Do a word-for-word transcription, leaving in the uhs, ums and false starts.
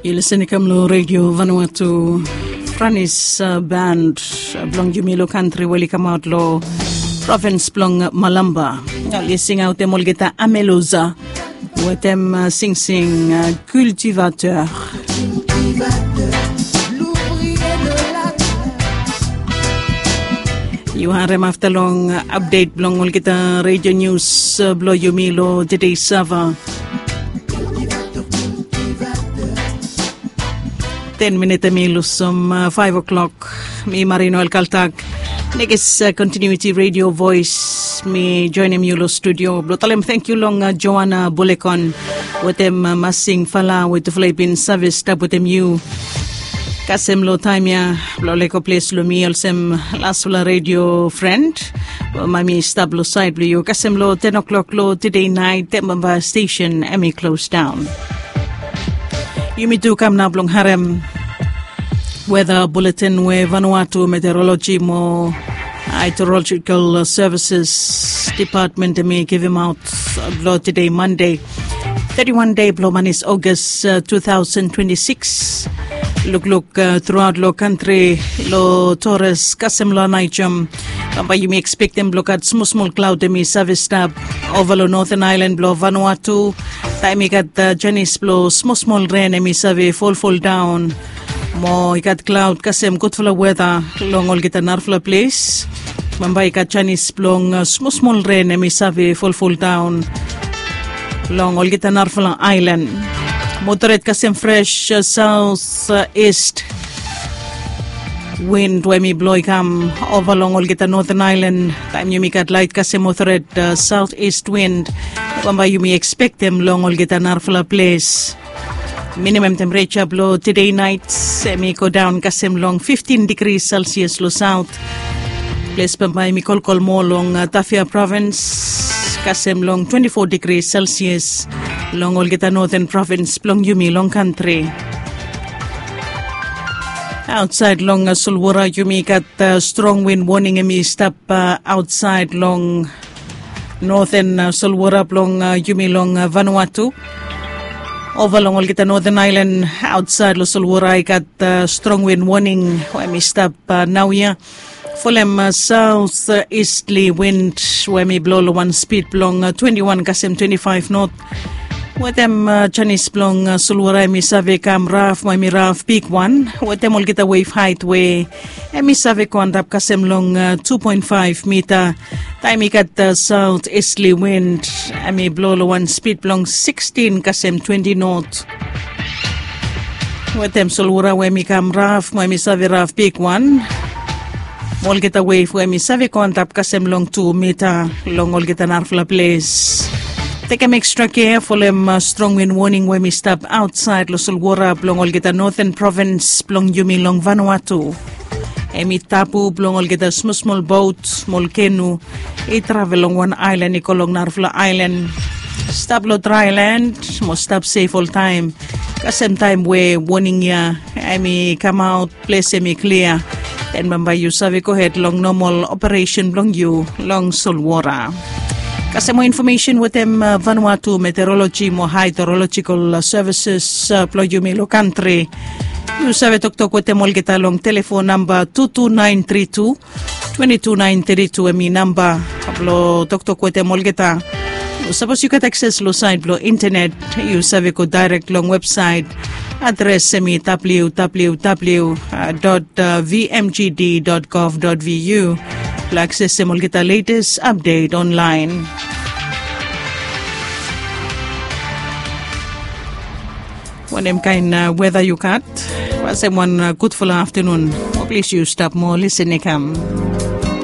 Yu lisen i kam long redio Vanuatu. Franis band blong yumi long kantri we oli kamaot long provins blong Malamba, oli singautem olgeta Ameloza wetem singsing Cultivateur. Yu harem afta long apdet blong olgeta redio nius blong yumi long tede sava. Ten minit em i lusim faef o'klok. Mi Marino Elkaltak, Nekis Kontinuiti Redio Voes. Mi joinim yu long studio blong talem tangkiu long Joana Bulekon wetem Masing Fala we tufala i bin save stap wetem yu kasem long taem ya blong lego ples long mi olsem lasfala redio fren. Mami stap long saed blong yu kasem long ten o'klok long tede naet em bambae stesen em i klos daon. Yumi tu kam nao blong harem weda buletin we Vanuatu Meteoroloji mo Hydrological Services Depatmen em i givimaot blong tede Mande, teti wan dei blong manis Ogas tu taosen twenti sikis. Lukluk truaot long kantri, long Tores kasem long Anaitom, bambae yumi ekspektem blong gat smosmol klaod em i save stap ova long noten aelan blong Vanuatu. Taem i gat janis blong smosmol ren em i save folfoldaon mo i gat klaod kasem gudfala weta long olgeta narafala ples. Bambae i gat janis blong smosmol ren em i save folfoldaon long olgeta narafala aelan. Moderet kasem fres saot ist win we mi blo i kam ova long olgeta noten aelan. Taem yumi gat laet kasem moderet saot ist win, bambae yumi ekspektem long olgeta narafala ples. Minimam tempereja blo tede naet em i godaon kasem long fiftin digri selsias long saot. Ples bambae em i kolkol moa long Tafea provins kasem long twenti fo digri selsias long olgeta noten provins blong yumi long kantri. Aotsaed long solwora yumi gat strong win woning em i stap aotsaed long noten solwora blong yumi long Vanuatu. Ova long olgeta noten aelan aotsaed long solwora i gat strong win woning we em i stap naoia. Folem saot istli win we em i blo long wan spid blong twenti wan kasem twenti faef not. Wetem janis blong solwora em i save kam raf mo em i raf bigwan wetem olgeta wef haet we em i save go antap kasem long tu poen faef mita. Taem i gat saot istli win em i blo long wan spid blong sikstin kasem twenti not. Wetem solwora we em i kam raf mo em i save raf bigwan mo olgeta wef we em i save go antap kasem long tu mita long olgeta narafala ples. Tekem ekstra kea folem strong win woning we em i stap aotsaed long solwora blong olgeta noten provins blong yumi long Vanuatu. Em i tabu blong olgeta smosmol bot mo ol kenu i travel long wan aelan i go long narafala aelan. Stap long draelan mo stap sef oltaem. Kasem taem we woning ya em i kamaot ples em i klia, den bambae yu save gohed long nomol operesen blong yu long solwora. Kasem moa infomesen wetem Vanuatu Meteoroloji mo Haedrolojikal Sevises blong yumi long kantri. Yu save toktok wetem olgeta long telefon namba tu tu naen tri tu twenti tu naen teti tu em i namba blong toktok wetem olgeta. Sapos yu gat akses long saet blong intenet, yu save go daerek long websaet. Adres em i www dot vmgd dot gov dot vu blong aksesem olgeta letes apdet onlaen. Wanem kaen weta yu gat? Kasem wan gudfala aftanun. Mo plis yu stap mo lisen i kam.